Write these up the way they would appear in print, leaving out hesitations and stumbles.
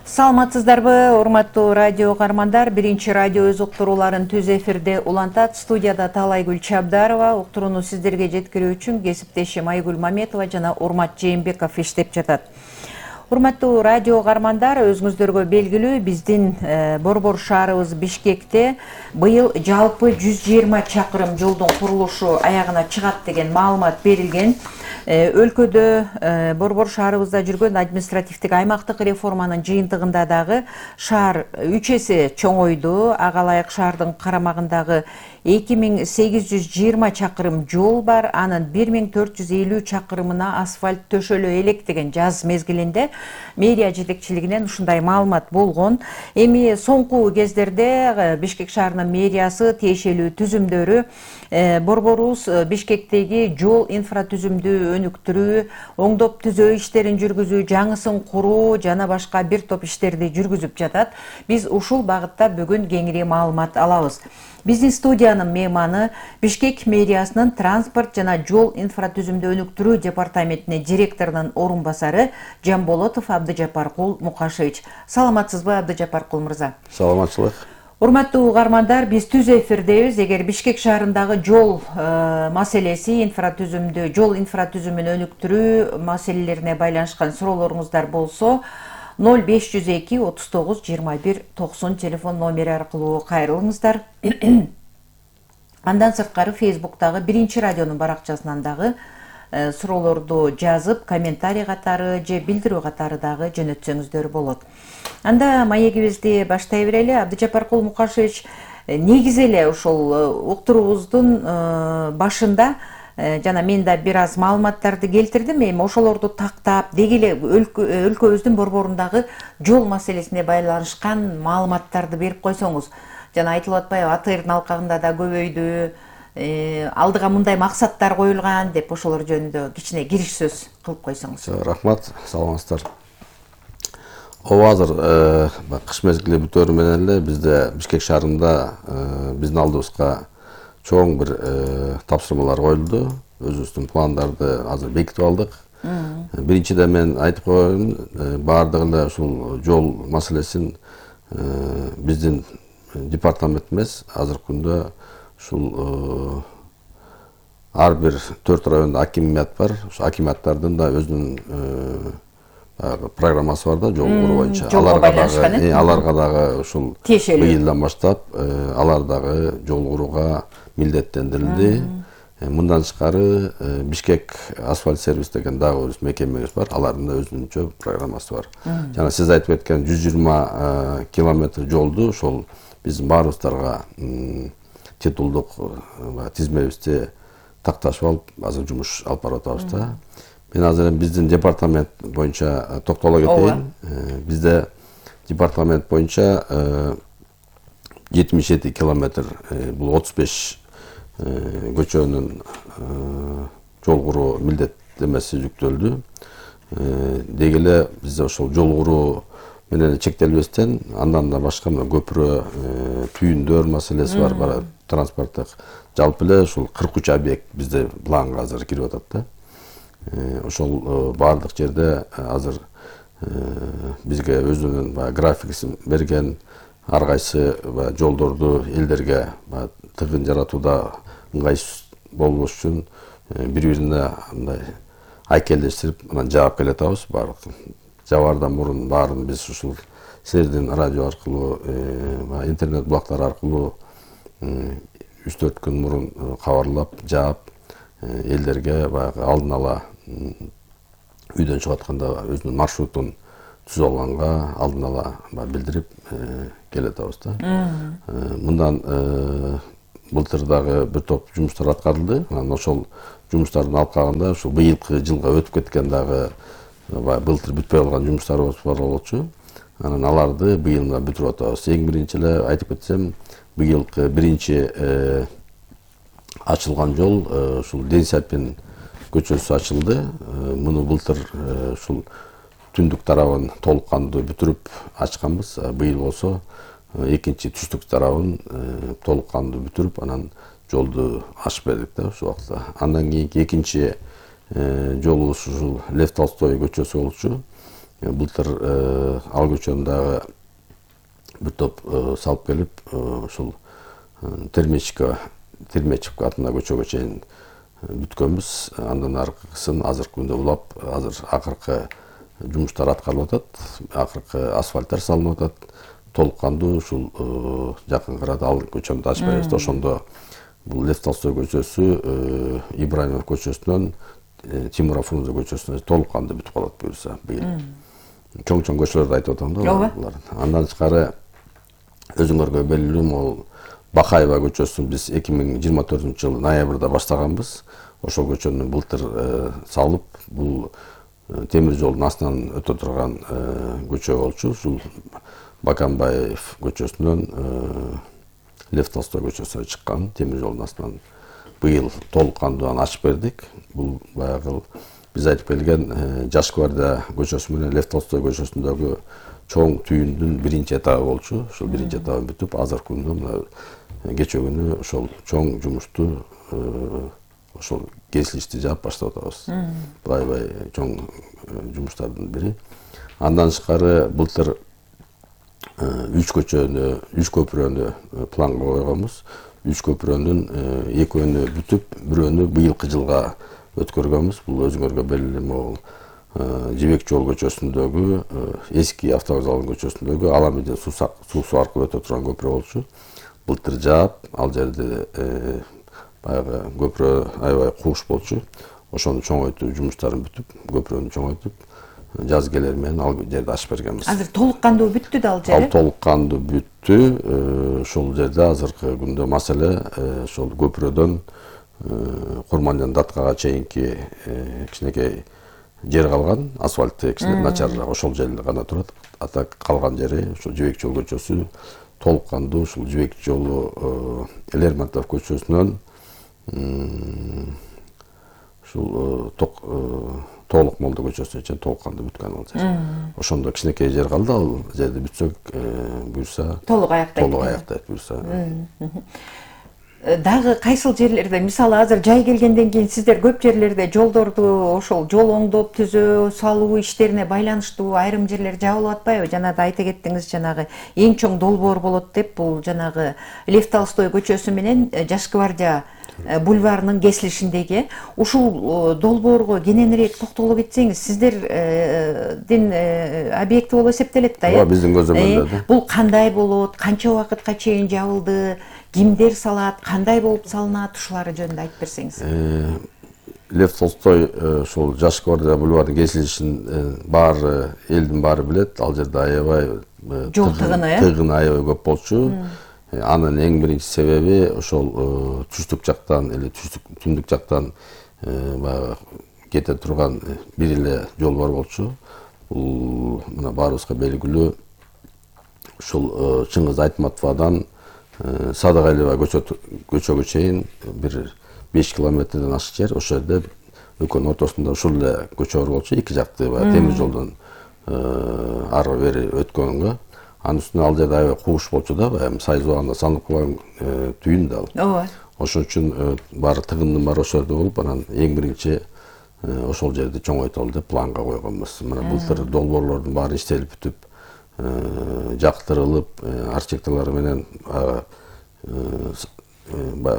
Саламатсыздарбы, урматтуу радио каармандар. Биринчи радио өз уктурууларын түз эфирде улантат. Студияда Талайгүл Чабдарова. Уктурууну сиздерге жеткирүү үчүн кесиптешим Айгүл Маметова жана Урмат Жээнбеков иштеп жатат. Урматтуу радио каармандар, өзүңүздөргө белгилүү, биздин Борбор шаарыбыз Бишкекте быйыл жалпы 120 чакырым жолдун курулушу аягына чыгат деген маалымат берилген. Өлкөдө Борбор шаарыбызда жүргөн административдик аймактык реформанын жыйынтыгында дагы шаар 3 эсе чоңойду. Ага ылайык шаардын карамагындагы 2820 чакырым жол бар. Анын 1450 чакырымына асфальт төшөлө элек деген жаз мезгилинде мэрия жетекчилигинен ушундай маалымат болгон. Эми соңку кездерде Бишкек шаарынын мэриясы тиешелүү түзүмдөрү борборубуз Бишкектеги жол инфратүзүмдү өнүктүрүү, оңдоп түзөө иштерин жүргүзүү, жаңысын куруу жана башка бир топ иштерди жүргүзүп жатат. Биз ушул багытта бүгүн кеңири маалымат алабыз. Биздин студиянын мейманы Бишкек мэриясынын транспорт жана жол инфратүзүмдү өнүктүрүү департаментинин директорунун орун басары Жамболотов Абдыжапаркул Мукашевич. Саламатсызбы, Абдыжапаркул мырза? Саламатчылык. Урматтуу каармандар, биз түз эфирдебиз. Эгер Бишкек шаарындагы жол маселеси, жол инфратүзүмүн өнүктүрүү маселелерине байланышкан суроолоруңуздар болсо, 0502 39 21 90 телефон номери аркылуу кайрылыңыздар. Андан сырткары Facebook'тагы биринчи радионун баракчасынан дагы суроолорду жазып, комментарий катары же билдирүү катары дагы жөнөтсөңүздөр болот. Анда маегибизди баштай берели. Абдыжапаркул Мукашевич, негизи эле ушул уктуруубуздун башында жана мен да бир аз маалыматтарды келтирдим. Эми ошолорду тактап, деги эле өлкөбүздүн борборундагы жол маселесине байланышкан маалыматтарды берип койсоңуз. Жана айтылып атпайбы, АТРдын алкагында да көбөйдү, алдыга мындай максаттар коюлган деп ошолор жөнүндө кичине кириш сөз кылып койсоңуз. Рахмат, саламатсыздар. Ооба, азыр кыш мезгили бүтөөрү менен эле бизде Бишкек шаарында биздин алдыбызга чоң бир тапшырмалар коюлду. Өзүбүздүн пландарды азыр бекитип алдык. Биринчиден мен айтып коеюн, баардыгы эле ушул жол маселесин биздин департамент эмес, азыркы күндө ушул ар бир 4 райондо акимият бар. Ошол акимияттардын да өзүнүн программасы бар да, жол куруу боюнча. Аларга дагы ушул быйылдан баштап алар дагы жол курууга милдеттендирилди. Мындан тышкары Бишкек асфальт сервис деген дагы өз мекемебиз бар. Алардын да өзүнчө программасы бар. Жана сиз айтып кеткен 120 километр жолду ошол биздин баарыбыздарга титулдук тизмебизди такташып алып, азыр жумуш алып барып атабыз да. Мен азыр биздин департамент боюнча токтоло кетейин. Бизде департамент боюнча 77 километр, бул 35 көчөнүн жол куруу милдеттемеси жүктөлдү. Деги эле бизде ошол жол куруу менен чектелбестен, андан да башка көпүрө, түйүндөр маселеси бар, транспорттук. Жалпы эле ушул 43 объект бизде планга азыр кирип атат да. Ошол баардык жерде азыр бизге өзүнүн графикисин берген, ар кайсы жолдорду элдерге тыгын жаратууда ыңгайсыз болбош үчүн бири-бирине мындай айкелдештирип анан жаап келатабыз. Жабаардан мурун баарын биз ушул силердин радио аркылуу, интернет булактар аркылуу 3-4 күн мурун кабарлап, жаап, элдерге алдын ала үйдөн чыгып атканда өзүнүн маршрутун түзүп алганга алдын ала билдирип келатабыз да. Мындан былтыр дагы бир топ жумуштар аткарылды. Анан ошол жумуштардын алкагында ушул быйылкы жылга өтүп кеткен дагы былтыр бүтпөй калган жумуштарыбыз бар болчу. Анан аларды быйыл бүтүрүп атабыз. Эң биринчи эле айтып кетсем, быйылкы биринчи ачылган жол ушул Денисапин көчөсү ачылды. Муну былтыр ушул түндүк тарабын толук кандуу бүтүрүп ачканбыз. Быйыл болсо экинчи түштүк тарабын толук кандуу бүтүрүп, анан жолду ачып бердик да ушул убакта. Андан кийинки экинчи жолубуз ушул Лев Толстой көчөсү болчу. Былтыр ал көчөнү дагы бир топ салып келип, ушул Термечев атына көчөгө чейин бүткөнбүз. Андан аркысын азыркы күндө улап, азыр акыркы жумуштар аткарылып атат, акыркы асфальттар салынып атат. Толук кандуу ушул жакын арада ал көчөнү ачпайбыз. Ошондо бул Лев Толстой көчөсү Ибраимов көчөсүнөн Тимура Фрунзе көчөсүнө толук кандуу бүтүп калат буюрса быйыл. Чоң көчөлөрдү айтып атам да булар. Андан тышкары өзүңөргө белгилүү могул Бакаева көчөсүн биз 2024-жылы ноябрда баштаганбыз. Ошол көчөнү былтыр салып, бул темир жолдун астынан өтө турган көчө болчу. Ушул Баканбаев көчөсүнөн Лев Толстой көчөсүнө чыккан темир жолдун астынан быйыл толук кандуу аны ачып бердик. Бул баягы биз айтып келген Жаш гвардия көчөсү менен Лев Толстой көчөсүндөгү чоң түйүндүн биринчи этабы болчу. Ошол биринчи этабы бүтүп, азыркы күндө мына кечээ күнү ошол чоң жумушту ошол кесилишти жаап баштап атабыз. Бул аябай чоң жумуштардын бири. Андан тышкары былтыр 3 көпүрөнү планга койгонбуз. 3 көпүрөнүн экөөнү бүтүп, бирөөнү быйылкы жылга өткөргөнбүз. Бул өзүңөргө белгилүү могул Жибек жол көчөсүндөгү, эски автовокзалдын көчөсүндөгү Аламедин суусу аркылуу өтө турган көпүрө болчу. Былтыр жаап, ал жерде баягы көпүрө аябай кууш болчу. Ошону чоңойтуу жумуштарын бүтүп, көпүрөнү чоңойтуп, жаз келер менен ал жерди ачып бергенбиз. Азыр толук кандуу бүттү да ал жер? Ал толук кандуу бүттү. Ошол жерде азыркы күндө маселе ошол көпүрөдөн Курмандын Даткага чейинки кичинекей жер калган, асфальты кичине начарыраак, ошол жер гана турат. Ата калган жери ошол Жибек жол көчөсү толук кандуу ушул Жибек жолу Лермонтов көчөсүнөн ушул Толук молдо көчөсүнө чейин толук кандуу бүткөн ал жер. Ошондо кичинекей жер калды, ал жерди бүтсөк буюрса толук аяктайт буюрса. Дагы кайсыл жерлерде, мисалы азыр жай келгенден кийин сиздер көп жерлерде жолдорду ошол жол оңдоп түзөө салуу иштерине байланыштуу айрым жерлер жабылып атпайбы? Жана да айта кеттиңиз, жанагы эң чоң долбоор болот деп, бул жанагы Лев Толстой көчөсү менен Жаш гвардия бульварынын кесилишиндеги ушул долбоорго кененирээк токтолуп кетсеңиз, сиздердин объекти болуп эсептелет да, Ооба, биздин көзөмөлдө. Бул кандай болот, канча убакытка чейин жабылды, кимдер салат, кандай болуп салынат, ушулары жөнүндө айтып берсеңиз. Лев Толстой ошол Жаш гвардия бульварынын кесилишин баары элдин баары билет. Ал жерде аябай жол тыгыны аябай көп болчу. Анын эң биринчи себеби ошол түштүк жактан эле түндүк жактан баягы кете турган бир эле жол бар болчу. Бул мына баарыбызга белгилүү ушул Чыңгыз Айтматовадан Садыгайлова көчөгө чейин бир 5 километрден ашык жер. Ошол жерде экөөнүн ортосунда ушул эле көчө бар болчу. Эки жакты темир жолдон ары бери өткөнгө. Анын үстүнө ал жерде аябай кууш болчу да, эми сайыз убагында салынып калган түйүн да ал. Ооба. Ошон үчүн баары тыгындын баары ошол жерде болуп, анан эң биринчи ошол жерди чоңойтолу деп планга койгонбуз. Мына былтыр долбоорлордун баары иштелип бүтүп, жактырылып, архитекторлор менен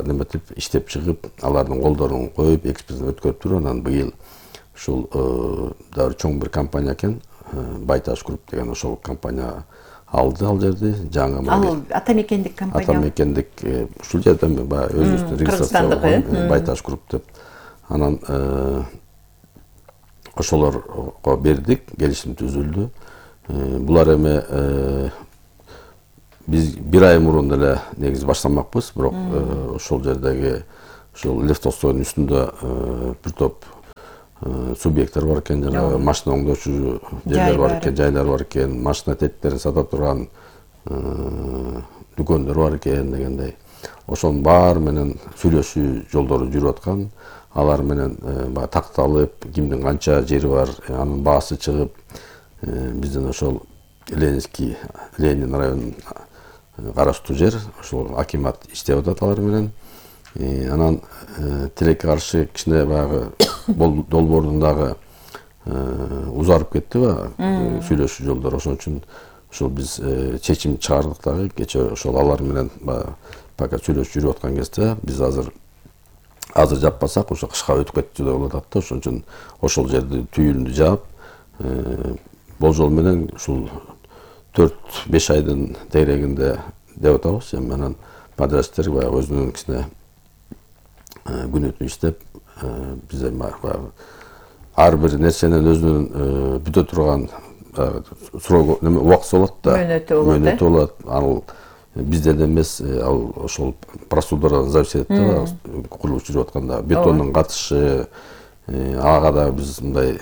неметип иштеп чыгып, алардын колдорун коюп, экспертиза өткөрүп туруп, анан быйыл ушул дагы чоң бир компания экен, Байташ групп деген ошол компания алды ал жерди. Жаңы Ал атамекендик компания. Атамекендик ушул жерден баягы өзүбүздүн регистрация Байташ групп деп. Анан ошолорго бердик, келишим түзүлдү. Булар эми биз бир ай мурун эле негизи баштамакпыз, бирок ошол жердеги ошол Лев Толстойдун үстүндө бир топ субъекттер бар экен, жанагы машина оңдоочу жерлер бар экен, жайлар бар экен, машина теттерин сата турган дүкөндөр бар экен дегендей. Ошонун баары менен сүйлөшүү жолдору жүрүп аткан. Алар менен баягы такталып, кимдин канча жери бар, анын баасы чыгып, биздин ошол Ленин районунун караштуу жер, ошол акимат иштеп атат алар менен. Анан тилекке каршы кичине баягы долбоордун дагы узарып кетти баягы сүйлөшүү жолдору. Ошон үчүн ошол биз чечим чыгардык дагы. Кечээ ошол алар менен пока сүйлөшүп жүрүп аткан кезде биз азыр жаппасак ошо кышка өтүп кетчү деп болуп атат да. Ошон үчүн ошол жерди түйүндү жаап болжол менен ушул 4-5 айдын тегерегинде деп атабыз. Эми анан подрядчиктер баягы өзүнүн кичине күнү түнү иштеп биз эми баягы ар бир нерсенин өзүнүн бүтө турган срогу убактысы болот да. Мөөнөтү болот. Ал бизден эмес, ал ошол процедурадан зависит этет да. Курулуш жүрүп атканда бетондун катышы ага да биз мындай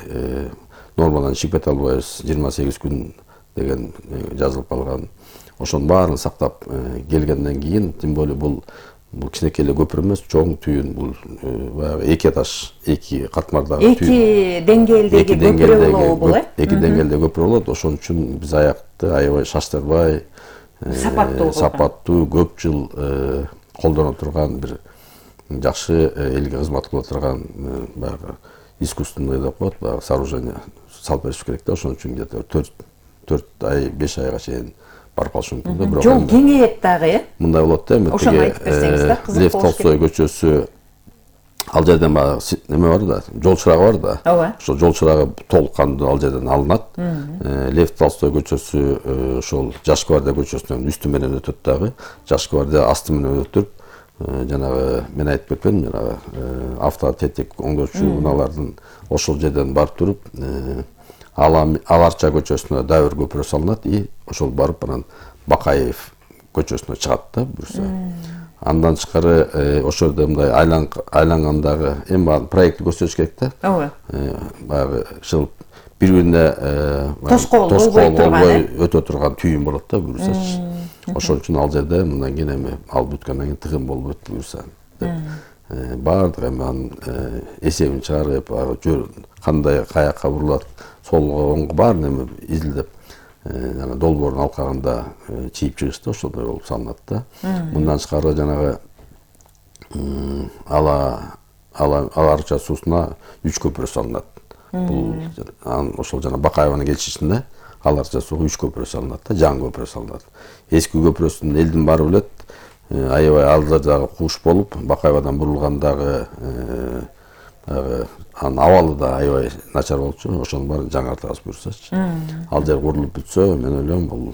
нормадан чыгып кете албайбыз. 28 күн деген жазылып калган. Ошонун баарын сактап келгенден кийин, тем более бул кичинекей эле көпүрө эмес, чоң түйүн. Бул баягы 2 этаж, 2 катмардагы түйүн. 2 деңгээлдеги көпүрө болобу бул, э? 2 деңгээлде көпүрө болот. Ошон үчүн биз аякты аябай шаштырбай, сапаттуу, көп жыл колдоно турган бир жакшы элге кызмат кыла турган баягы искусственный деп коет, баягы сооружение салып бериш керек да. Ошон үчүн где-то 4 ай, 5 айга чейин барып калышы мүмкүн да. Бирок жол кеңейет дагы, э? Мындай болот да, эми тиги Лев Толстой көчөсү, ал жерден баягы неме бар да, жол чырагы бар да. Ошол жол чырагы толук кандуу ал жерден алынат. Лев Толстой көчөсү ошол Жаш гвардия көчөсүнүн үстү менен өтөт дагы. Жаш гвардия асты менен өтүп, жанагы мен айтып кетпедим, жанагы автотетик оңдоочу унаалардын ошол жерден барып туруп, Аларча көчөсүнө дабыр көпүрө салынат и ошол барып анан Бакаев көчөсүнө чыгат да буюрса. Андан тышкары ошол жерде мындай айлангандагы эми баарын проектти көрсөтүш керек да. Ооба. Баягы ушул бири-бирине тоскоол болбой өтө турган түйүн болот да буюрсачы. Ошон үчүн ал жерде мындан кийин эми ал бүткөндөн кийин тыгын болбойт буюрса. Баардык эми анын эсебин чыгарып, кандай каяка бурулат, солго оңго баарын эми изилдеп, жана долбоордун алкагында чийип чыгышты, ошондой болуп салынат да. Мындан тышкары жанагы Аларча суусуна 3 көпүрө салынат. Бул ошол жана Бакаеванын келишишинде Аларча сууга 3 көпүрө салынат да, жаңы көпүрө салынат. Эски көпүрөсүн элдин баары билет. Аябай ал жагдагы кууш болуп, Бакаевадан бурулгандагы анын абалы да аябай начар болчу. Ошонун баарын жаңартабыз буюрсачы. Ал жер курулуп бүтсө, мен ойлойм бул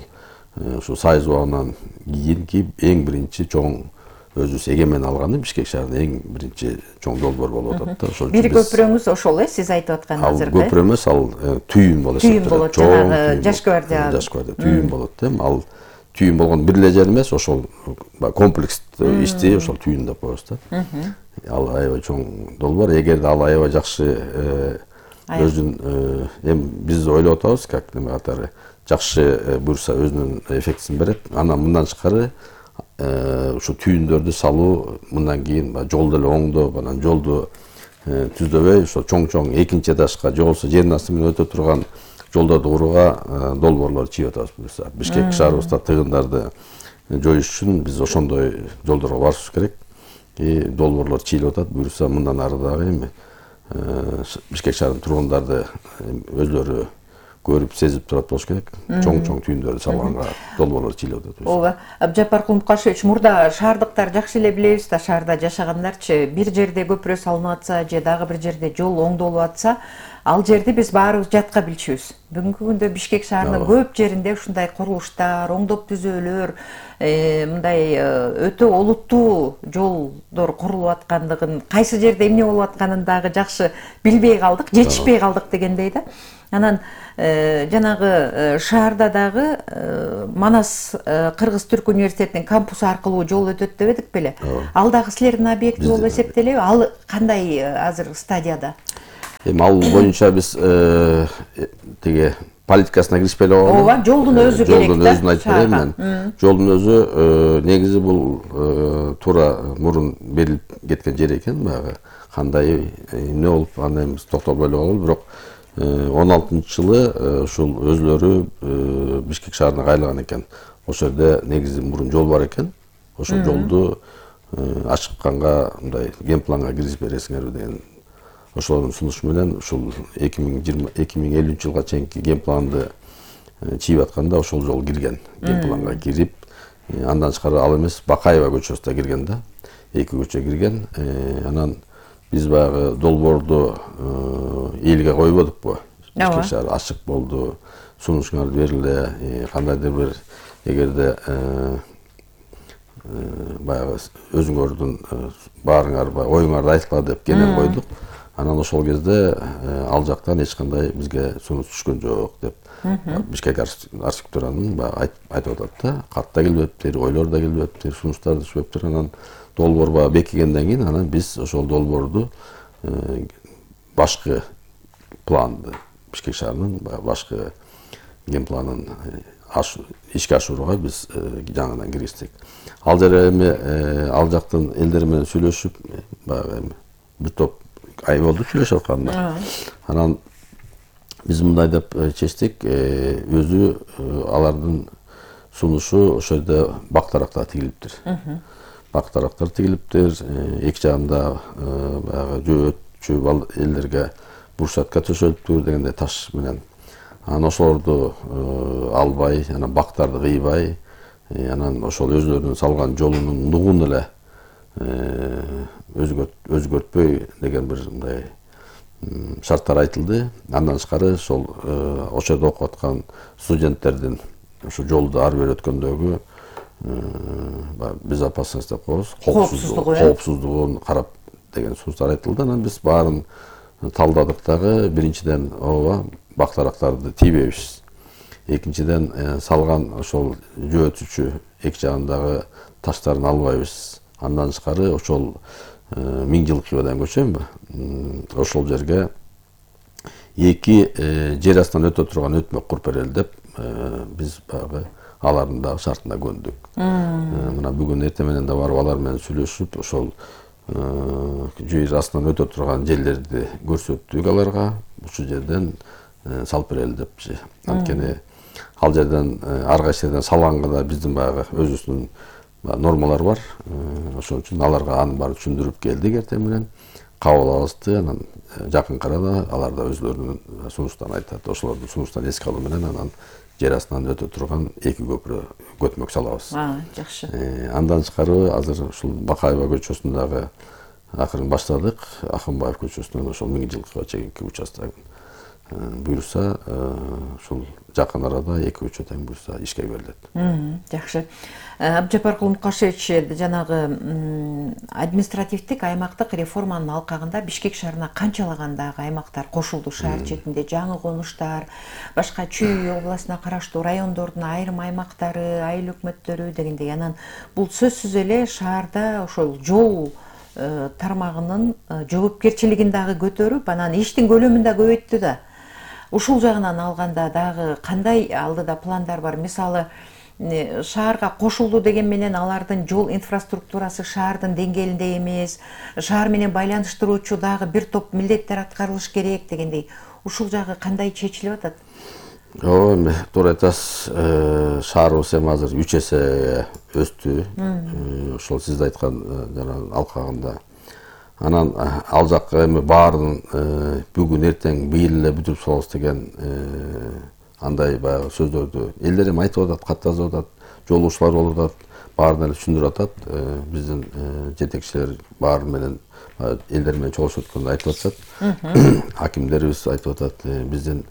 ушу Союз убагынан кийинки эң биринчи чоң өзүбүз эгемен алганы Бишкек шаарынын эң биринчи чоң долбоор болуп атат да. Ошол бир көпүрөңүз ошол, сиз айтып аткан азыркы. Ал көпүрө эмес, ал түйүн болот. Түйүн болот, жанагы Жаш гвардия. Жаш гвардия түйүн болот, эми ал түйүн болгон бир эле жер эмес, ошол комплекс ишти ошол түйүн деп коебуз да. Ал аябай чоң долбоор. Эгерде ал аябай жакшы өзүнүн эми биз ойлоп атабыз, как неме катары жакшы буюрса өзүнүн эффектисин берет. Анан мындан тышкары ушу түйүндөрдү салуу мындан кийин жолду эле оңдоп, анан жолду түздөбөй, ошо чоң экинчи этажга же болбосо жердин асты менен өтө турган жолдорду курууга долбоорлор чийип атабыз буюрса. Бишкек шаарыбызда тыгындарды жоюш үчүн биз ошондой жолдорго барышыбыз керек. Долбоорлор чийилип атат буюрса, мындан ары дагы эми Бишкек шаарынын тургундары өзлөрү көрүп, сезип турат болуш керек. Чоң түйүндөрдү салганга долбоорлор чийилип атат. Ооба. Абжапар Кулмукашевич, мурда шаардыктар жакшы эле билебиз да, шаарда жашагандарчы, бир жерде көпүрө салынып атса же дагы бир жерде жол оңдолуп атса, ал жерди биз баарыбыз жатка билчүбүз. Бүгүнкү күндө Бишкек шаарынын көп жеринде ушундай курулуштар, оңдоп түзөөлөр, мындай өтө олуттуу жолдор курулуп аткандыгын, кайсы жерде эмне болуп атканын дагы жакшы билбей калдык, жетишпей калдык дегендей да. Анан жанагы шаарда дагы Манас Кыргыз-Түрк университетинин кампусу аркылуу жол өтөт деп эдик беле? Ал дагы силердин объекти болуп эсептелеби? Ал кандай азыр стадияда? Эми ал боюнча биз тиги политикасына киришпей эле койгон. Ооба, жолдун өзү керек да. Жолдун өзүн айтып берейин мен. Жолдун өзү негизи бул туура мурун берилип кеткен жер экен, баягы кандай эмне болуп, аны эми токтолбой эле калалы, бирок 16-жылы ушул өзлөрү Бишкек шаарына кайрылган экен. Ошол жерде негизи мурун жол бар экен. Ошол жолду ачыкканга мындай генпланга киргизип бересиңерби деген. ошолордун сунушу менен ушул 2050 жылга чейинки ген планды чийип атканда ошол жол кирген, ген планга кирип, андан тышкары ал эмес Бакаева көчөсү да кирген да, 2 көчө кирген. Анан биз баягы долбоорду элге койбодукпу? Бишкек шаары ачык болду, сунушуңарды бериле, кандайдыр бир эгерде баягы өзүңөрдүн баарыңар оюңарды айткыла деп кенен койдук. Анан ошол кезде ал жактан эч кандай бизге сунуш түшкөн жок деп Бишкек архитектуранын баягы айтып атат да, кат да келбептир, ойлор да келбептир, сунуштар да түшпөптүр. Анан долбоор баягы бекигенден кийин анан биз ошол долбоорду башкы планды, Бишкек шаарынын башкы ген планын ишке ашырууга биз жаңыдан киргиздик. Ал жер эми ал жактын элдери менен сүйлөшүп, баягы бир топ ай болду сүйлөшүп атканда. Анан биз мындай деп чечтик, өзү алардын сунушу ошол жерде бактарактар тигилиптир. Бактарактар тигилиптир, эки жагында баягы жөөт элдерге брусчатка төшөлүптүр дегенде таш менен. Анан ошолорду албай, анан бактарды кыйбай, анан ошол өзүлөрүнүн салган жолунун нугун эле өзгөртпөй деген бир мындай шарттар айтылды. Андан тышкары ошол жерде окуп аткан студенттердин ошо жолду ары бери өткөндөгү безопасность деп коебуз, коопсуздугун карап деген сунуштар айтылды. Анан биз баарын талдадык дагы, биринчиден ооба бактарактарды тийбейбиз. Экинчиден салган ошол жөөтүчү эки жагындагы таштарын албайбыз. Андан тышкары ошол 1000 жылкы деген көчөмбү? Ошол жерге эки жер астынан өтө турган өтмөк куруп берели деп биз баягы алардын дагы шартына көндүк. Мына бүгүн эртең менен да барып алар менен сүйлөшүп, ошол жер астынан өтө турган жерлерди көрсөттүк аларга. Ушул жерден салып берели депчи. Анткени ал жерден ар кайсы жерден салганга да биздин баягы өзүбүздүн нормалар бар. Ошон үчүн аларга анын баарын түшүндүрүп келдик эртең менен. Кабыл алышты. Анан жакын арада алар да өзлөрүнүн сунуштарын айтат. Ошолордун сунуштарын эске алуу менен анан жер астынан өтө турган эки көпүрө көтмөк салабыз. Жакшы. Андан тышкары азыр ушул Бакаева көчөсүндөгү акырын баштадык. Акынбаев көчөсүнөн ошол 1000 жылкыга чейинки участок буюрса, ушул жакын арада эки көчө тең буюрса ишке берилет. Жакшы. Абджапаркул Мукашевич, жанагы административдик аймактык реформанын алкагында Бишкек шаарына канчалагандагы аймактар кошулду шаар четинде, жаңы конуштар, башка Чүй областына караштуу райондордун айрым аймактары, айыл өкмөттөрү дегендей. Анан бул сөзсүз эле шаарда ошол жол тармагынын жоопкерчилигин дагы көтөрүп, анан иштин көлөмүн да көбөйттү да. Ушул жагынан алганда дагы кандай алдыда пландар бар? Мисалы, шаарга кошулду деген менен алардын жол инфраструктурасы шаардын деңгээлинде эмес, шаар менен байланыштыруучу дагы бир топ милдеттер аткарылыш керек дегендей. Ушул жагы кандай чечилип атат? Эми туура айтасыз, шаарыбыз эми азыр 3 эсе өстү. Ошол сиз айткан жанагы алкагында. Анан ал жакка эми баарын бүгүн эртең быйыл эле бүтүрүп салабыз деген андай баягы сөздөрдү элдер эми айтып атат, кат жазып атат, жолуучулар болуп атат, баарын эле түшүндүрүп атат. Биздин жетекчилер баары менен элдер менен чогулушуп атканда айтып атышат. Акимдерибиз айтып атат, биздин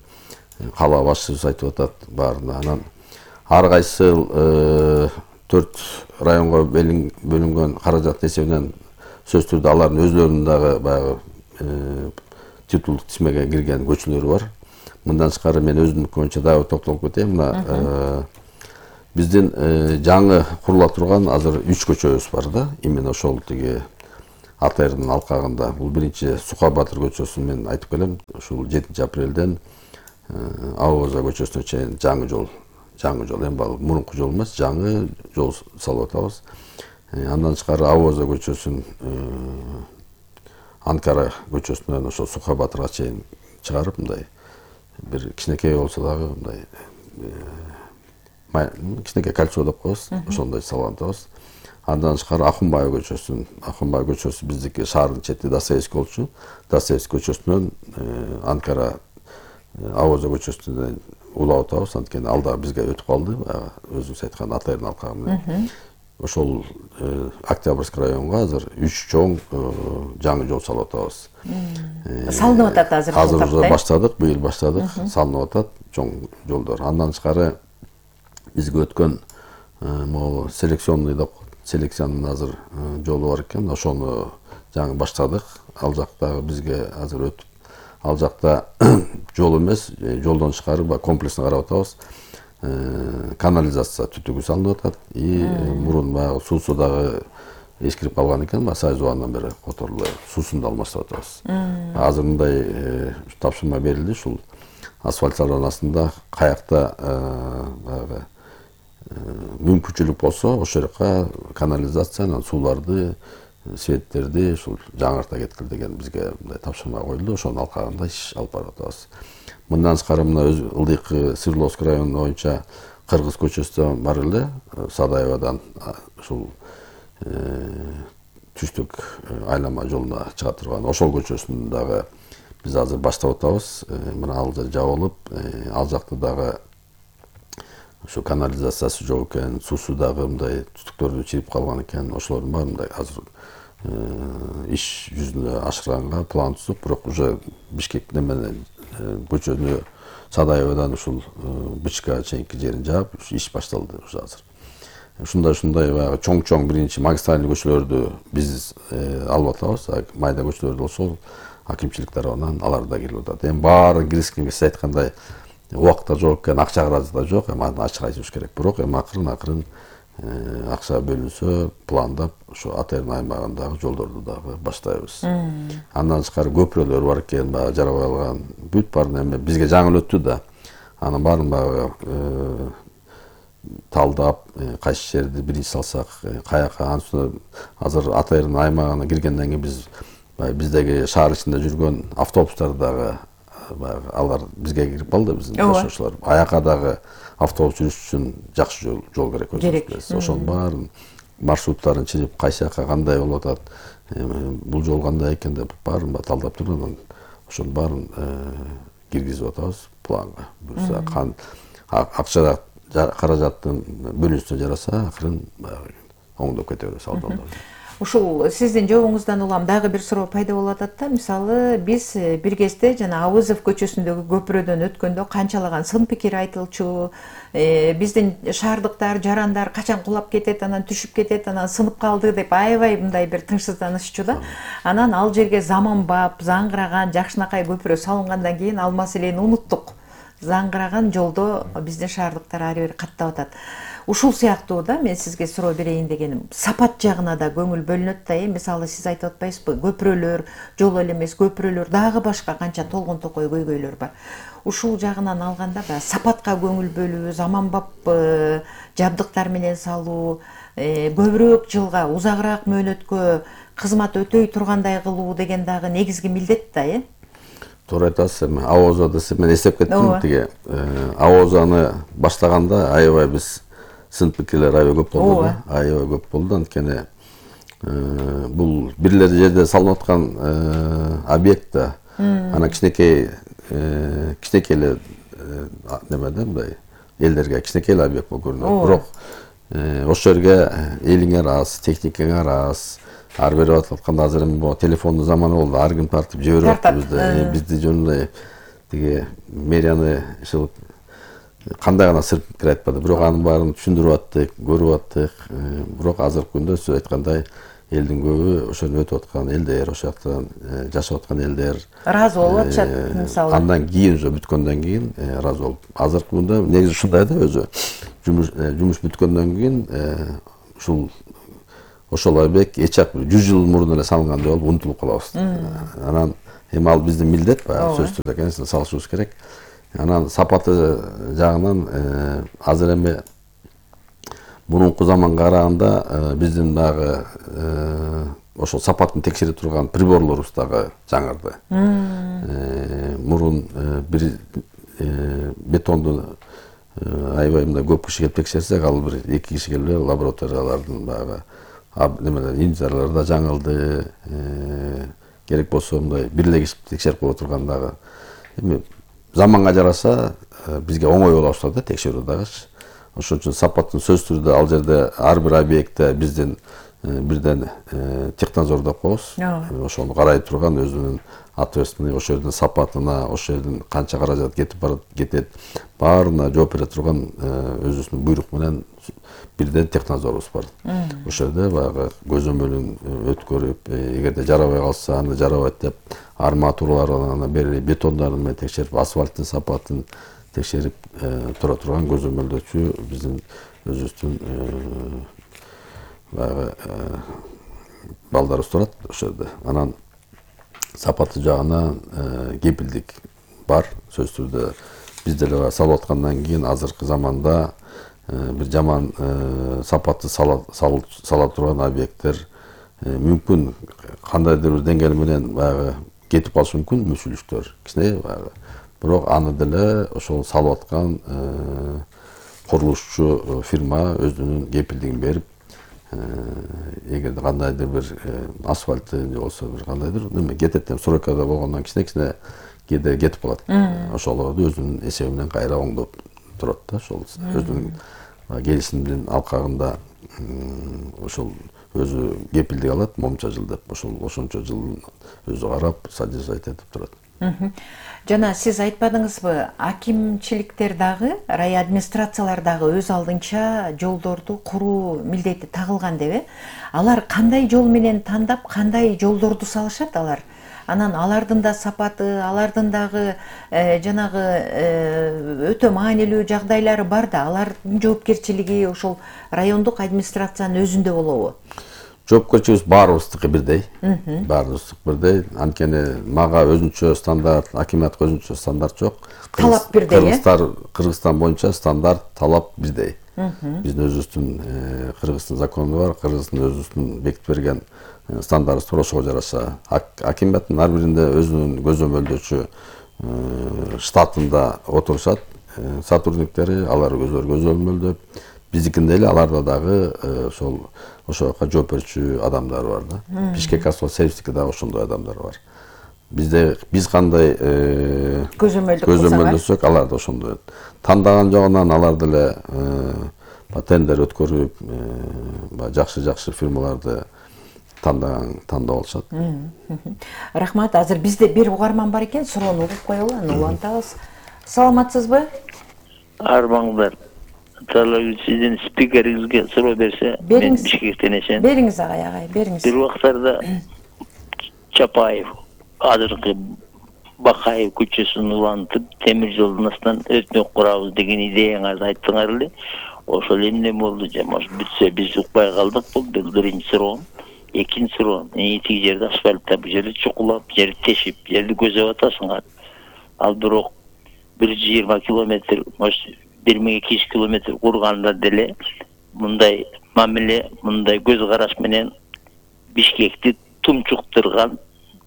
кала башчыбыз айтып атат баарына. Анан ар кайсы 4 районго бөлүнгөн каражаттын эсебинен сөзсүз түрдө алардын өзлөрүнүн дагы баягы титулдук тизмеге кирген көчөлөрү бар. Мындан тышкары мен өзүмдүн боюнча дагы токтолуп кетейин. Мына биздин жаңы курула турган азыр 3 көчөбүз бар да. Именно ошол тиги АТРдын алкагында. Бул биринчи Сука Батыр көчөсүн мен айтып келем. Ушул 7 апрелден Авоза көчөсүнө чейин жаңы жол, эми мурунку жол эмес, жаңы жол салып атабыз. Андан тышкары Авоза көчөсүн Анкара көчөсүнөн ошол Сука Батырга чейин чыгарып, мындай бир кичинекей болсо дагы мындай кичинекей кольцо деп коебуз, ошондой салып атабыз. Андан тышкары Акунбай көчөсү биздики шаардын чети Достоевский болчу. Достоевский көчөсүнөн Анкара Авоза көчөсүнө улап атабыз. Анткени ал дагы бизге өтүп калды. Өзүңүз айткан Атайдын алкагы менен. Ошол Октябрьский районго азыр 3 чоң жаңы жол салып атабыз. Салынып атат азыр. Азыр уже баштадык, быйыл баштадык, салынып атат чоң жолдор. Андан тышкары бизге өткөн могу селекционный деп селекциянын азыр жолу бар экен. Ошону жаңы баштадык. Ал жактагы бизге азыр өтүп, ал жакта жол эмес, жолдон тышкары комплексно карап атабыз. Канализация түтүгү салынып атат. Мурун баягы суусу дагы эскирип калган экен. Сайзуандан бери которулуп суусун да алмаштырып атабыз. Азыр мындай тапшырма берилди. Ушул асфальт салонасында каякта баягы мүмкүнчүлүк болсо, ошол жака канализацияны, сууларды, светтерди ушул жаңырта кеткил деген бизге мындай тапшырма коюлду. Ошонун алкагында иш алып барып атабыз. Мындан тышкары мына ылдыйкы Свердловский району боюнча Кыргыз көчөсү бар эле, Садаевадан ушул түштүк айлама жолуна чыга турган ошол көчөсүн дагы биз азыр баштап атабыз. Мына ал жабылып, ал жакта дагы ушу канализациясы жок экен, суусу дагы мындай түтүктөрдү чирип калган экен. Ошолордун баары мындай азыр иш жүзүнө ашырганга план түзүп, бирок уже Бишкек менен көчөнү Садаевадан ушул Бычка чейинки жерин жаап, иш башталды уже азыр. Ушундай баягы чоң биринчи магистральный көчөлөрдү биз алып атабыз. Майда көчөлөрдү болсо акимчилик тарабынан алар да кирип атат. Эми баарын киргизгенге сиз айткандай убакыт да жок экен, акча каражат да жок. Эми аны ачык айтышыбыз керек. Бирок эми акырын акча бөлүнсө, пландап ушу Атайдын аймагындагы жолдорду дагы баштайбыз. Андан тышкары көпүрөлөр бар экен, баягы жарабай алган. Бүт баарын эми бизге жаңы өттү да. Анын баарын баягы талдап, кайсы жерди биринчи салсак, каяка ансына азыр Атайдын аймагына киргенден кийин биздеги шаар ичинде жүргөн автобустар дагы баягы алар бизге кирип калды, биздин жашоочулар. Аяка дагы автобус жүрүш үчүн жакшы жол керек өзүбүз. Ошонун баарын маршруттарын чыгып, кайсы жака кандай болуп атат, бул жол кандай экен деп баарын талдап туруп, анан ошонун баарын киргизип атабыз планга. Буюрса акча каражаттын бөлүнүшүнө жараса, акырын оңдоп кете беребиз ал жолдорду. Ушул сиздин жообуңуздан улам дагы бир суроо пайда болуп атат да. Мисалы, биз бир кезде жана Авызов көчөсүндөгү көпүрөдөн өткөндө канчалаган сын пикир айтылчу, биздин шаардыктар, жарандар качан кулап кетет, анан түшүп кетет, анан сынып калды деп аябай мындай бир тынчсызданышчу да. Анан ал жерге заманбап, заңгыраган, жакшынакай көпүрө салынгандан кийин ал маселени унуттук. Заңгыраган жолдо биздин шаардыктар ары бери каттап атат. Ушул сыяктуу да, мен сизге суроо берейин дегеним. Сапат жагына да көңүл бөлүнөт да, мисалы сиз айтып атпайсызбы, көпүрөлөр, жол эле эмес, көпүрөлөр, дагы башка канча толгон токой көйгөйлөр бар. Ушул жагынан алганда сапатка көңүл бөлүү, заманбап жабдыктар менен салуу, көбүрөөк жылга, узагыраак мөөнөткө кызмат өтөй тургандай кылуу деген дагы негизги милдет да, Туура айтасыз. Эми Авоза десе мен эстеп кеттим. Тиги Авозаны баштаганда аябай биз сын пикирлер аябай көп болду да. Аябай көп болду. Анткени бул бирлер жерде салынып аткан объект да. Анан кичинекей эле немеде мындай элдерге кичинекей эле объект болуп көрүнөт. Бирок ошол жерге элиңер аз, техникаңар аз. Ар берип атканда азыр эми телефондун заманы болду. Ар ким тартып жиберип атты бизди жөнүндөй тиги мэрияны кандай гана сырт пикир айтпады. Бирок анын баарын түшүндүрүп аттык, көрүп аттык. Бирок азыркы күндө сиз айткандай элдин көбү ошону өтүп аткан элдер, ошол жактан жашап аткан элдер ыраазы болуп атышат мисалы. Андан кийин уже бүткөндөн кийин ыраазы болуп. Азыркы күндө негизи ушундай да, өзү жумуш бүткөндөн кийин ушул ошол объект 100 жыл мурун эле салынгандай болуп унутулуп калабыз. Анан эми ал биздин милдет, баягы сөзсүз түрдө конечно салышыбыз керек. Анан сапаты жагынан азыр эми мурунку заманга караганда биздин дагы ошол сапатын текшере турган приборлорубуз дагы жаңырды. Мурун бир бетонду аябай мындай көп киши келип текшерсек, ал бир 2 киши келип лабораториялардын баягы немелер инженерлер да жаңылды, керек болсо мындай бирлигип текшерип коюп тургандагы эми заманга жараша бизге оңой боло баштады текшерүү дагычы. Ошон үчүн сапаттын сөзсүз түрдө ал жерде ар бир объектте бизден бирден технадзор деп коебуз. Ошону карай турган өзүнүн ответственный, ошол жердин сапатына, ошол жердин канча каражат кетет, баарына жооп бере турган өзүбүздүн буйрук менен бирден технадзорубуз бар. Ошол жерде баягы көзөмөлүн өткөрүп, эгерде жарабай калса, аны жарабайт деп арматураларына бери бетондарын менен текшерип, асфальттын сапатын текшерип тура турган көзөмөлдөөчү биздин өзүбүздүн баягы балдарыбыз турат ошол жерде. Анан сапаты жагынан кепилдик бар. Сөзсүз түрдө биз деле салып аткандан кийин азыркы заманда бир жаман сапатты сала турган объекттер мүмкүн кандайдыр бир деңгээл менен баягы кетип калышы мүмкүн, мүчүлүштөр кичине баягы. Бирок аны деле ошол салып аткан курулушчу фирма өзүнүн кепилдигин берип, эгерде кандайдыр бир асфальты же болсо бир кандайдыр неме кетет деп срокада болгондон кичине кээде кетип калат. Ошолорду өзүнүн эсеби менен кайра оңдоп турат да. Ошол өзүнүн келишимдин алкагында ошол өзү кепилдик алат момунча жыл деп. Ошончо жыл өзү карап, содержать этип турат. Жана сиз айтпадыңызбы, акимчиликтер дагы, рай администрациялар дагы өз алдынча жолдорду куруу милдети тагылган деп, алар кандай жол менен тандап, кандай жолдорду салышат алар? Анан алардын да сапаты, алардын дагы жанагы өтө маанилүү жагдайлары бар да, алардын жоопкерчилиги ошол райондук администрациянын өзүндө болобу? Жоопкерчилигибиз баарыбыздыкы бирдей. Баарыбыздыкы бирдей. Анткени мага өзүнчө стандарт, акимиятка өзүнчө стандарт жок. Талап бирдей, Кыргызстан боюнча стандарт, талап бирдей. Биздин өзүбүздүн Кыргыздын закону бар, Кыргыздын өзүбүздүн бекитип берген стандартыбыз бар, ошого жараша. Акимияттын ар биринде өзүнүн көзөмөлдөөчү штатында отурушат сотрудниктери, алар өзүлөрү көзөмөлдөп, биздикинде эле аларда дагы ошол жака жооп берүүчү адамдар бар да. Бишкек асфальт сервистикте дагы ошондой адамдар бар. Биз кандай көзөмөлдөсөк, алар да ошондой. Тандаган жагынан алар деле тендер өткөрүп, жакшы фирмаларды тандап алышат. Рахмат. Азыр бизде бир угарман бар экен, суроону угуп коелу, аны улантабыз. Саламатсызбы? Армаңдар. Сиздин спикериңизге суроо берсе, мен Бишкектен эшен. Бериңиз агай, бериңиз. Бир убактарда Чапаев, азыркы Бакаев көчөсүн улантып, темир жолдун астынан өтмөк курабыз деген идеяңызды айттыңар эле. Ошол эмне болду? Бүтсө биз укпай калдык. Бул биринчи суроо. Экинчи суроо. Тиги жерде асфальтта, бу жерде чукулап, жерди тешип, жерди көзөп атасыңар. Ал бирок 120 километр, 1200 километр курганда деле мындай мамиле, мындай көз караш менен Бишкекти тумчуктурган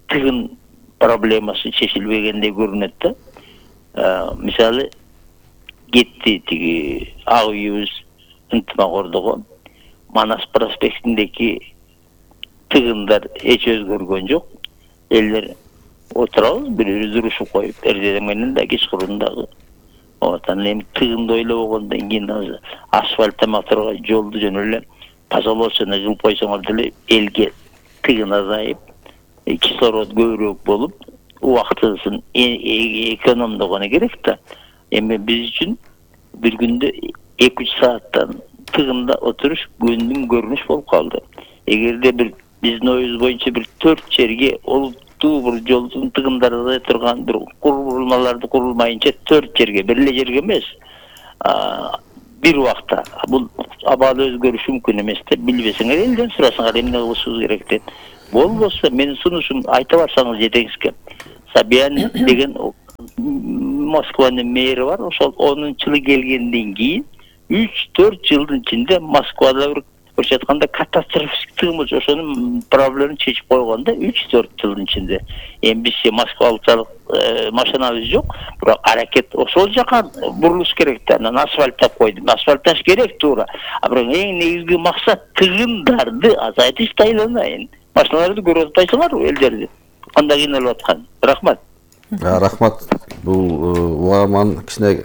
тыгын проблемасы чечилбегендей көрүнөт да. Мисалы, кетти тиги ак үйүбүз ынтымак Манас проспектиндеги тыгындар эч өзгөргөн жок. Элдер отурабыз, бирибиз урушуп коюп, эртең менен да кечкурун дагы. Анан эми тыгынды ойлобогондон кийин асфальт тамактырга жолду жөн эле тазалоочуну кылып койсоңор деле элге тыгын азайып, кислород көбүрөөк болуп, убактысын экономдогону керек да. Эми биз үчүн бир күндө 2-3 сааттан тыгында отуруш күндүн көрүнүш болуп калды. Эгерде биздин оюбуз боюнча бир 4 жерге олуттуу бир жолдун тыгындары турган бир курулмаларды курулмайынча 4 жерге, бир эле жерге эмес, бир убакта бул абалы өзгөрүшү мүмкүн эмес деп билбесеңер, элден сурасаңар эмне кылышыбыз керек деп. Болбосо менин сунушум айта барсаңыз жетеңизге. Собян деген Москванын мэри бар. Ошол 10-жылы келгенден кийин 3-4 жылдын ичинде Москвада бир бара жатканда катастрофический болчу ошонун проблемин чечип койгон да 3-4 жылдын ичинде. Эми биз Москвалык машинабыз жок, бирок аракет ошол жака бурулуш керек да. Анан асфальттап койдум. Асфальтташ керек туура. А бирок эң негизги максат тыгындарды азайтыш да айланайын. Машиналарды көрүп атпайсыңарбы элдерди? Кандай кыйналып аткан? Рахмат. Рахмат. Бул угаман кичине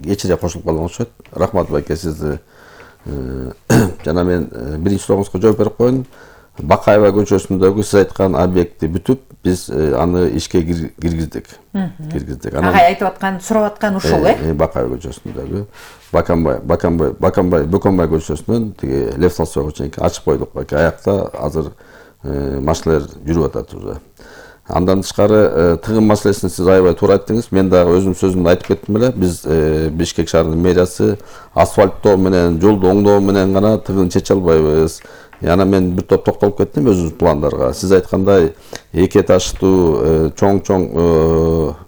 кечире кошулуп калган окшойт. Рахмат байке, сизди жана мен биринчи суроңузга жооп берип коеюн. Бакаева көчөсүндөгү сиз айткан объектти бүтүп, биз аны ишке киргиздик. Агай айтып аткан, сурап аткан ушул Бакаева көчөсүндөгү Бөкөнбай көчөсүнөн тиги Лев Толстойго чейинки ачып койдук байке. Аякта азыр машиналар жүрүп атат уже. Андан тышкары тыгын маселесин сиз аябай туура айттыңыз. Мен дагы өзүм сөзүмдө айтып кеттим эле. Биз Бишкек шаарынын мэриясы асфальттоо менен, жолду оңдоо менен гана тыгын чече албайбыз. Яна мен бир топ токтолуп кеттим өзүбүздүн пландарга. Сиз айткандай эки этаждуу чоң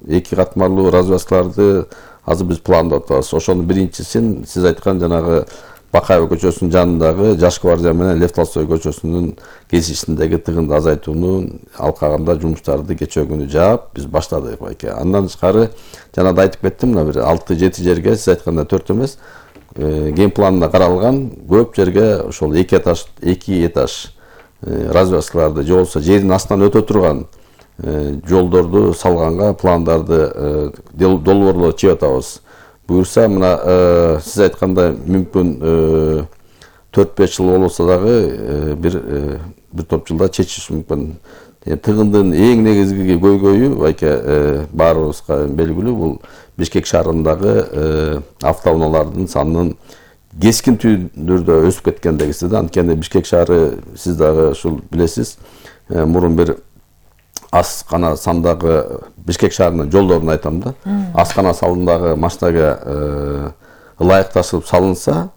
эки катмарлуу развязкаларды азыр биз пландап атабыз. Ошонун биринчисин сиз айткан жанагы Бакаева көчөсүнүн жанындагы Жаш гвардия менен Лев Толстой көчөсүнүн кесишиндеги тыгынды азайтуунун алкагында жумуштарды кечээ күнү жаап биз баштадык байке. Андан тышкары жана да айтып кеттим, мына бир 6-7 жерге сиз айткандай 4 эмес ген планында каралган көп жерге ошол эки этаж развязкаларды же болбосо жердин астынан өтө турган жолдорду салганга пландарды долбоорлор чыгып атабыз. Буюрса мына сиз айткандай мүмкүн 4-5 жыл болбосо дагы бир топ жылда чечиш мүмкүн. Тыгындын эң негизги көйгөйү байке баарыбызга белгилүү, бул Бишкек шаарындагы автоунаалардын санынын кескин түрдө өсүп кеткендегиси да. Анткени Бишкек шаары сиз дагы ушул билесиз, мурун бир аз гана сандагы Бишкек шаарынын жолдорун айтам да. Аз гана сандагы машинага ылайыкташып салынса,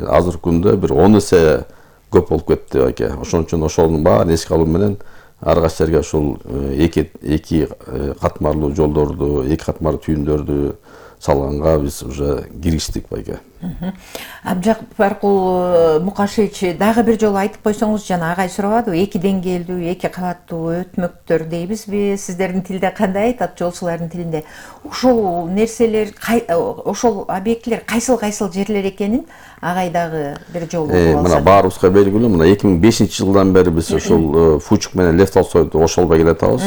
азыркы күндө бир 10 эсе көп болуп кетти байке. Ошон үчүн ошонун баарын эске алуу менен ар кайсы жерге ушул эки катмарлуу жолдорду, эки катмарлуу түйүндөрдү салганга биз уже кириштик байке. Абжапаркул Мукашевич, дагы бир жолу айтып койсоңуз, жана агай сурабадыбы, эки деңгээлдүү, эки кабаттуу өтмөктөр дейбизби? Сиздердин тилде кандай айтат, жолчулардын тилинде? Ошол нерселер, ошол объектилер кайсыл жерлер экенин агай дагы бир жолу болуп алса. Мына баарыбызга белгилүү, мына 2005-жылдан бери биз ошол Фучук менен Лев Толстойду ошолбой келатабыз.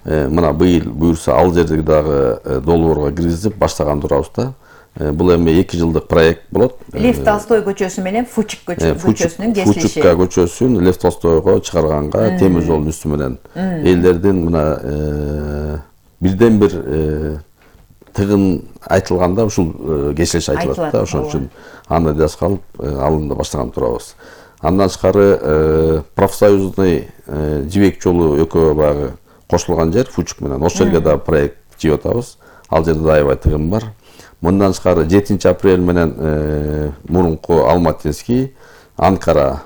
Мына быйыл буюрса ал жерди дагы долбоорго киргизип баштаган турабыз да. Бул эми 2 жылдык проект болот. Лев Толстой көчөсү менен Фучук көчөсүнүн кесилиши. Фучукка көчөсүн Лев Толстойго чыгарганга темир жолдун үстү менен элдердин мына бирден бир тыгын айтылганда ушул кесилиш айтылат да. Ошон үчүн аны да калып алында баштаган турабыз. Андан тышкары профсоюзный жибек жолу экөө баягы кошулган жер Фучук менен. Ошол жерге да проект жибип атабыз. Ал жерде да аябай тыгын бар. Мындан тышкары 7 апрель менен мурунку Алматинский, Анкара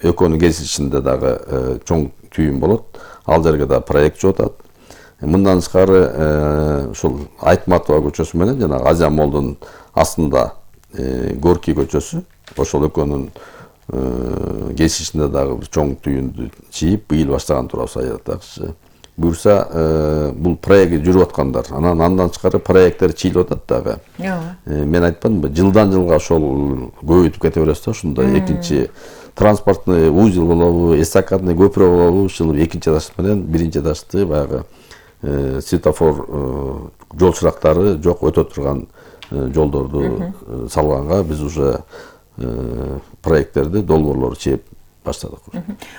экөөнүн кесилишинде дагы чоң түйүн болот. Ал жерге да проект жибип атат. Мындан тышкары ушул Айтматова көчөсү менен жана Азия молдун астында Горький көчөсү, ошол экөөнүн кесилишинде дагы бир чоң түйүндү чийип быйыл баштаган турабыз аятакчы. Буюрса бул проект жүрүп аткандар. Андан тышкары проекттер чийилип атат дагы. Мен айтпадымбы, жылдан жылга ошол көбөйтүп кете беребиз да. Ушундай экинчи транспортный узел болобу, эстакадный көпүрө болобу, ушул экинчи этаж менен биринчи этажды баягы светофор жол чырактары жок өтө турган жолдорду салганга биз уже проекттерди, долбоорлорду чейип баштадык.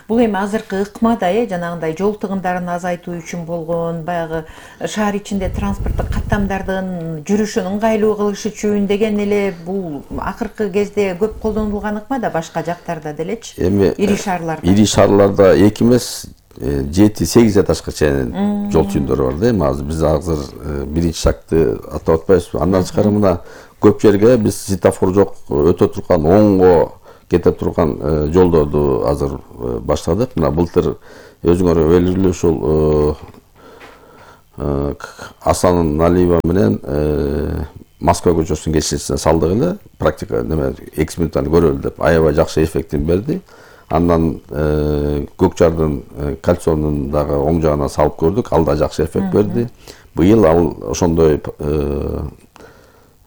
Бул эми азыркы ыкмада жанагындай жол тыгындарын азайтуу үчүн болгон, баягы шаар ичинде транспорттук каттамдардын жүрүшүн ыңгайлуу кылыш үчүн деген эле бул акыркы кезде көп колдонулган ыкма да, башка жактарда делечи. Эми ири шаарларда. Ири шаарларда 2 эмес 7-8 этажга чейин жол түйүндөрү бар да. Эми азыр биз азыр биринчи шагты атап атпайбызбы. Андан тышкары мына көп жерге биз светофор жок өтө турган оңго кете турган жолдорду азыр баштадык. Мына былтыр өзүңөр белгилүү ушул Асан Налиева менен Москва көчөсүнүн кесилишине салдык эле. практика неме эксперименталь көрөлү деп аябай жакшы эффектин берди. Андан Көкжардын кальционун дагы оң жагына салып көрдүк, ал да жакшы эффект берди. Быйыл ал ошондой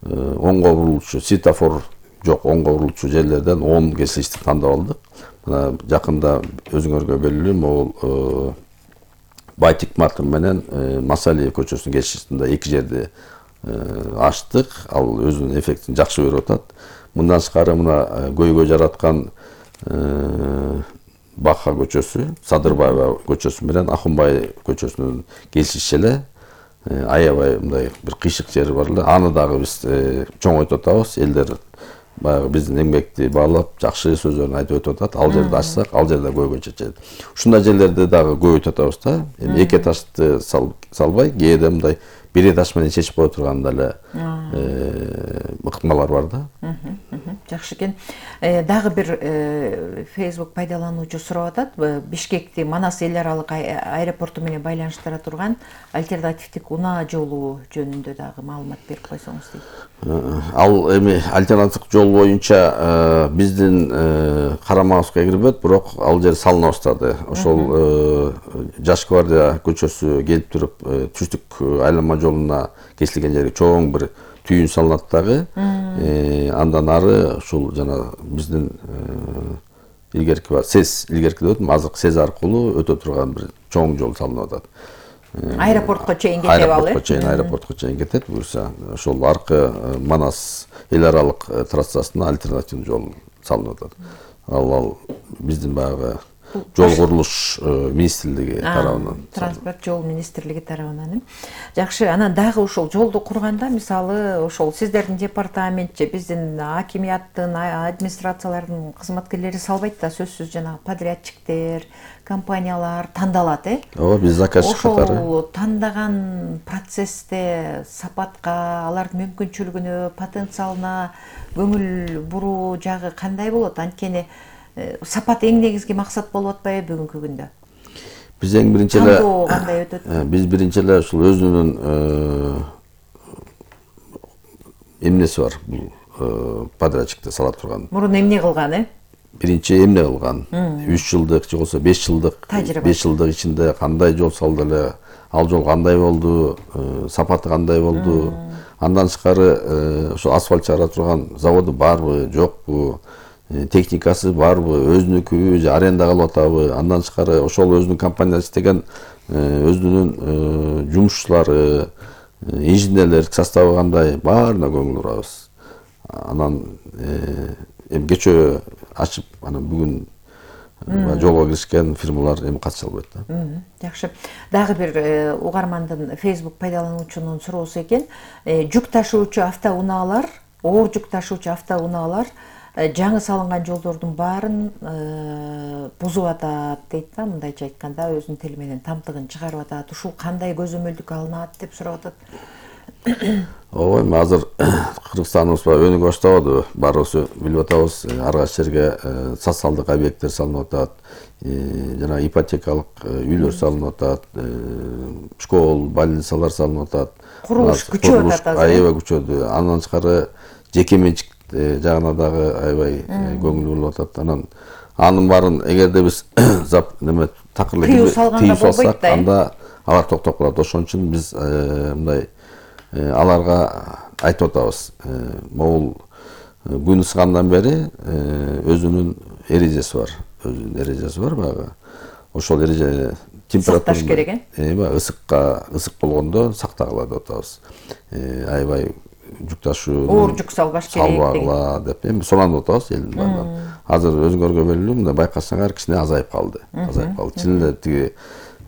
оңго бурулчу светофор жок оңго бурулчу жерлерден 10 кесилишти тандап алдык. Мына жакында өзүңөргө белгилүү могул Байтик Мартин менен Масалиев көчөсүнүн кесишинде 2 жерде ачтык. Ал өзүнүн эффектин жакшы берип атат. Мындан тышкары мына көйгөй жараткан Баха көчөсү, Садырбаева көчөсү менен Акунбай көчөсүнүн кесиши эле аябай мындай бир кыйшык жери бар эле. Аны дагы биз чоңойтуп атабыз. Элдер баягы биздин эмгекти баалап, жакшы сөздөрүн айтып өтүп атат. Ал жерди ачсак, ал жерде көйгөй чечет. Ушундай жерлерди дагы көбөйтүп атабыз да. Эми 2 этажды салбай, кээде мындай 1 этаж менен чечип кое турган эле ыкмалар бар да. Жакшы экен. Дагы бир Facebook пайдалануучу сурап атат. Бишкекти Манас эл аралык аэропорту менен байланыштыра турган альтернативдик унаа жолу жөнүндө дагы маалымат берип койсоңуз дейт. Ал эми альтернативдик жол боюнча биздин карамагыбызга кирбейт, бирок ал жер салына баштады. Ошол Жаш гвардия көчөсү келип туруп түштүк айланма жолуна кесилген жерге чоң бир түйүн салынат дагы. Андан ары ушул жана биздин илгерки бар СЭС илгерки деп атам, азыркы СЭС аркылуу өтө турган бир чоң жол салынып атат. Аэропортко чейин кетет ал, аэропортко чейин кетет. Буюрса ошол аркы Манас эл аралык трассасына альтернативдүү жол салынып атат. Ал биздин баягы жол курулуш министрлиги тарабынан. Транспорт жол министрлиги тарабынан. Жакшы, анан дагы ошол жолду курганда, мисалы, ошол сиздердин департамент же биздин акимияттын, администрациялардын кызматкерлери салбайт да, сөзсүз жана подрядчиктер, компаниялар тандалат, Ооба, биз заказчик катары. Ошол тандаган процессте сапатка, алардын мүмкүнчүлүгүнө, потенциалына көңүл буруу жагы кандай болот? Анткени сапат эң негизги максат болуп атпайбы бүгүнкү күндө? Биз эң биринчи эле кандай өтөт? Биз биринчи эле ушул өзүнүн эмнеси бар, бул подрядчикте сала турган. Мурун эмне кылган, Биринчи эмне кылган? 3 жылдык же болбосо 5 жылдык, 5 жылдык ичинде кандай жол салды эле, ал жол кандай болду, сапаты кандай болду? Андан тышкары ошо асфальт чыгара турган заводу барбы, жокпу? Техникасы барбы, өзүнүкүбү же аренда кылып атабы? Андан тышкары ошол өзүнүн компаниясы иштеген өзүнүн жумушчулары, инженерлер составы кандай, баарына көңүл бурабыз. Анан эми кечөө ачып, анан бүгүн жолго киришкен фирмалар эми катыша албайт да. Жакшы. Дагы бир угармандын Facebook пайдалануучунун суроосу экен. Жүк ташуучу автоунаалар, оор жүк ташуучу автоунаалар жаңы салынган жолдордун баарын бузуп атат дейт да, мындайча айтканда өзүнүн тили менен тамтыгын чыгарып атат. Ушул кандай көзөмөлдүккө алынат деп сурап атат. Ооба, эми азыр Кыргызстаныбыз өнүгө баштабады, баарыбыз билип атабыз. Ар кайсы жерге социалдык объекттер салынып атат, жана ипотекалык үйлөр салынып атат, школ, больницалар салынып атат. Курулуш күчөп атат азыр. Аябай күчөдү. Андан тышкары жеке менчик жагына дагы аябай көңүл бурулуп атат. Анын баарын эгерде биз неме такыр эле тыюу салсак, анда алар токтоп калат. Ошон үчүн биз мындай аларга айтып атабыз. Могул күн ысыгандан бери өзүнүн эрежеси бар. Өзүнүн эрежеси бар баягы. Ошол эреже температура сакташ керек, ысык болгондо сактагыла деп атабыз. Аябай жүк ташуу, оор жүк салбаш керек деп эми суранып атабыз элдин баарынан. Азыр өзүңөргө белгилүү, мындай байкасаңар кичине азайып калды. Чын эле тиги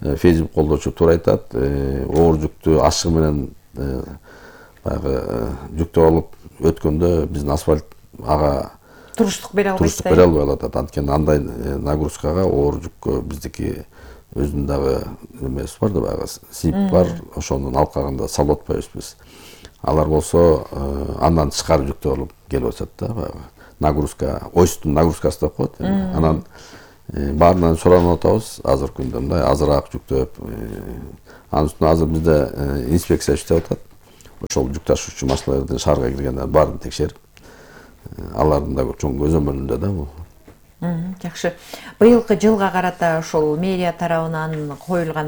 Facebook колдоочу туура айтат, оор жүктү ашыгы менен баягы жүктөп алып өткөндө биздин асфальт ага туруштук бере албай атат. Анткени андай нагрузкага оор жүккө биздики өзүнүн дагы немеси бар да, баягы сип бар, ошонун алкагында салып атпайбыз биз. Алар болсо андан тышкары жүктөп алып келип атат да, баягы нагрузка, осьтун нагрузкасы деп коет. Анан баарынан суранып атабыз азыркы күндө мындай азыраак жүктөп, анын үстүнө азыр бизде инспекция иштеп атат. Ошол жүк ташуучу машиналардын шаарга киргендерин баарын текшерип, алардын да чоң көзөмөлүндө да бул. Жакшы. Быйылкы жылга карата ошол мэрия тарабынан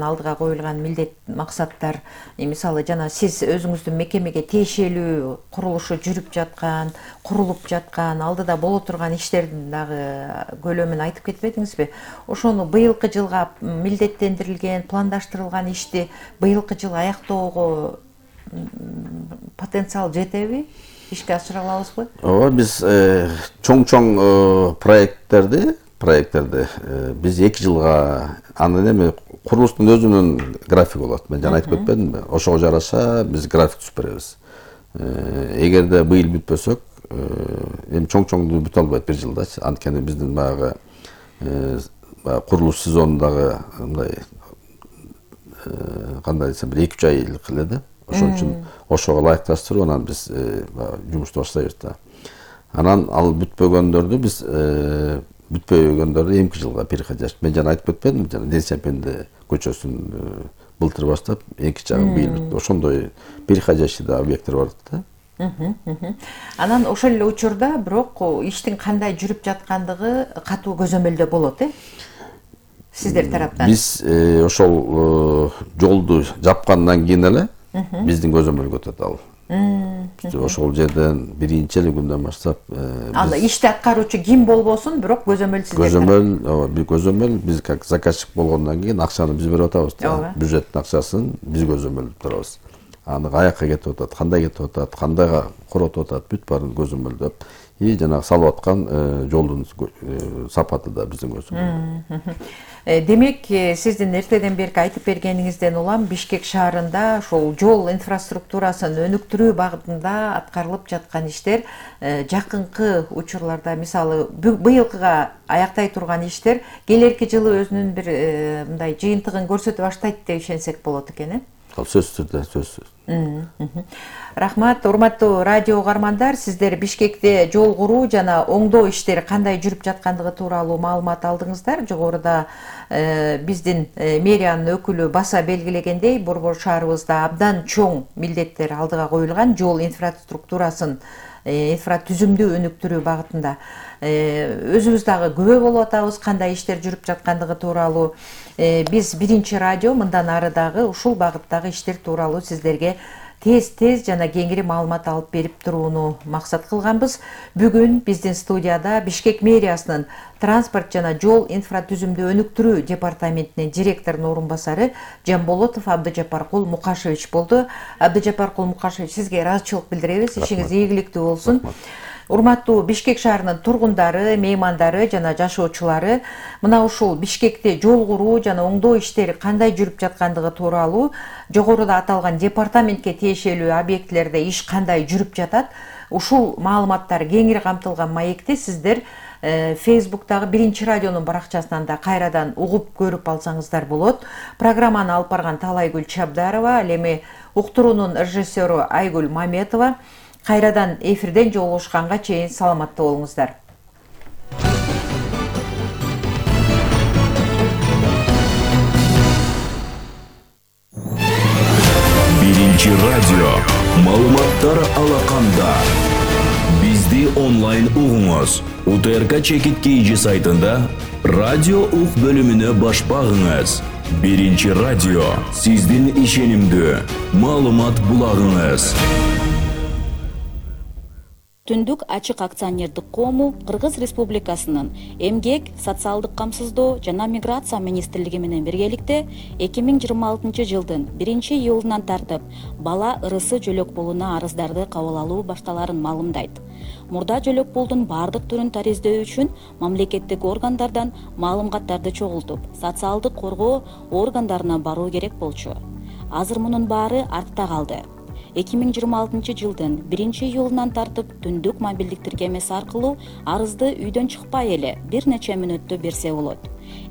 алдыга коюлган милдет, максаттар, мисалы жана сиз өзүңүздүн мекемеге тиешелүү курулушу жүрүп жаткан, курулуп жаткан, алдыда боло турган иштердин дагы көлөмүн айтып кетпедиңизби? Ошону быйылкы жылга милдеттендирилген, пландаштырылган ишти быйылкы жылы аяктоого потенциал жетеби? Ишке ашыра алабызбы? Ооба, биз чоң проекттерди биз 2 жылга, анын эми курулуштун өзүнүн графиги болот. Мен жана айтып кетпедимби? Ошого жараша биз график түзүп беребиз. Эгерде быйыл бүтпөсөк, эми чоң-чоңду бүтө албайт 1 жылдачы. Анткени биздин баягы курулуш сезонундагы мындай кандай десем, 2-3 айлык эле да. Ошон үчүн ошого ылайыкташтырып анан биз жумушту баштайбыз да. Анан ал бүтпөгөндөрдү биз эмки жылга переходящий. Мен жана айтып кетпедимби, жана Ден Сиопенде көчөсүн былтыр баштап, экинчи жагы быйыл бүтүп, ошондой переходящий да объекттер бар да. Анан ошол эле учурда бирок иштин кандай жүрүп жаткандыгы катуу көзөмөлдө болот, сиздер тараптан. Биз ошол жолду жапкандан кийин эле биздин көзөмөлгө өтөт ал. Ошол жерден биринчи эле күндөн баштап ал ишти аткаруучу ким болбосун, бирок көзөмөл сиздер. Көзөмөл биз как заказчик болгондон кийин акчаны биз берип атабыз да. Бюджеттин акчасын биз көзөмөлдөп турабыз. Аны каяка кетип атат, кандай кетип атат, кандайга коротуп атат, бүт баарын көзөмөлдөп, жанагы салып аткан жолдун сапаты да биздин көзөмөл. Демек, сиздин эртеден берки айтып бергениңизден улам Бишкек шаарында ошол жол инфраструктурасын өнүктүрүү багытында аткарылып жаткан иштер жакынкы учурларда, мисалы быйылкыга аяктай турган иштер келерки жылы өзүнүн бир мындай жыйынтыгын көрсөтө баштайт деп ишенсек болот экен, Сөзсүз түрдө, сөзсүз. Рахмат, урматтуу радио угармандар, сиздер Бишкекте жол куруу жана оңдоо иштери кандай жүрүп жаткандыгы тууралуу маалымат алдыңыздар. Жогоруда биздин мэриянын өкүлү баса белгилегендей, Борбор шаарыбызда абдан чоң милдеттер алдыга коюлган жол инфраструктурасын инфратүзүмдү өнүктүрүү багытында. Өзүбүз дагы күбө болуп атабыз кандай иштер жүрүп жаткандыгы тууралуу. Биз биринчи радио мындан ары дагы ушул багыттагы иштер тууралуу сиздерге тез жана кеңири маалымат алып берип турууну максат кылганбыз. Бүгүн биздин студияда Бишкек мэриясынын транспорт жана жол инфратүзүмдү өнүктүрүү департаментинин директорунун орун басары Жамболотов Абдыжапаркул Мукашевич болду. Абдыжапаркул Мукашевич, сизге ыраазычылык билдиребиз. Ишиңиз ийгиликтүү болсун. Урматтуу Бишкек шаарынын тургундары, меймандары жана жашоочулары, мына ушул Бишкекте жол куруу жана оңдоо иштери кандай жүрүп жаткандыгы тууралуу жогоруда аталган департаментке тиешелүү объектилерде иш кандай жүрүп жатат, ушул маалыматтар кеңири камтылган маекти сиздер Facebook'тагы биринчи радионун баракчасынан да кайрадан угуп көрүп алсаңыздар болот. Программаны алып барган Талайгүл Чабдарова, ал эми уктуруунун режиссеру Айгүл Маметова. Кайрадан эфирден жолугушканга чейин саламатта болуңуздар. Биринчи радио маалыматтар алаканда. Бизди онлайн угуңуз. УТРК Чекит KG сайтында радио ук бөлүмүнө баш багыңыз. Биринчи радио сиздин ишенимдүү маалымат булагыңыз. Түндүк ачык акционердик коому Кыргыз Республикасынын Эмгек, социалдык камсыздоо жана миграция министрлиги менен биргеликте 2026 жылдын 1-июлунан тартып бала ырысы жөлөк пулуна арыздарды кабыл алуу башталарын маалымдайт. Мурда жөлөк пулдун бардык түрүн тариздөө үчүн мамлекеттик органдардан маалыматтарды чогултуп, социалдык коргоо органдарына баруу керек болчу. Азыр мунун баары артта калды. 2026 жылдын 1-июлунан тартып түндүк мобилдик тиркемеси аркылуу арызды үйдөн чыкпай эле бир нече мүнөттө берсе болот.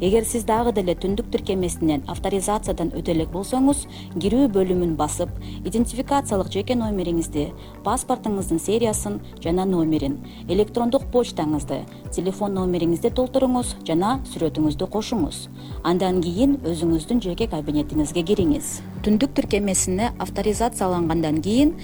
Эгер сиз дагы деле түндүк тиркемесинен авторизациядан өтө элек болсоңуз, кирүү бөлүмүн басып, идентификациялык жеке номериңизди, паспортуңуздун сериясын жана номерин, электрондук почтаңызды, телефон номериңизди толтуруңуз жана сүрөтүңүздү кошуңуз. Андан кийин өзүңүздүн жеке кабинетиңизге кириңиз. Түндүк тиркемесине авторизациялангандан кийин